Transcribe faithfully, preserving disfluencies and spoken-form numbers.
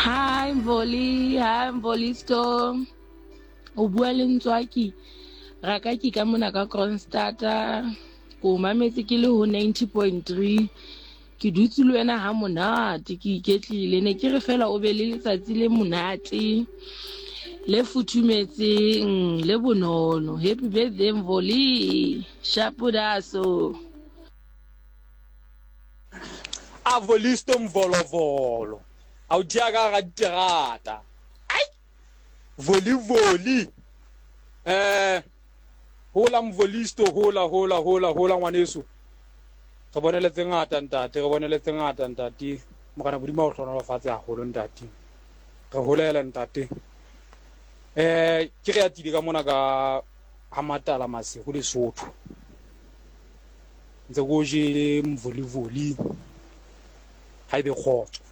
Hi Mvoli, hi Mvolisto. O bua le Ntswaki. Rakaki ka mona ka Kroonstad. Ko mametse ke le ho ninety point three. Ke dutse le wena ha monate, ke iketlile. Ne ke re fela o be le letsatsi le monate, le futhumetseng, le bonolo. Happy birthday Mvoli. Shapudaso. A Volisto mvolovolo. A o tšea ka ga diterata. Ai! Voli voli. Eh hola Mvolisto, hola hola hola hola ngwaneso. Re bonele tse ngata ntate, re bonele tse ngata ntate. Morena Modimo a o hlohonolofatse haholo ntate. Re holele ntate. Eh ke re atile ka mona ka ha Matala Maseru Lesotho. Ntse ko jele mvolivoli. Ha ebe kgotso.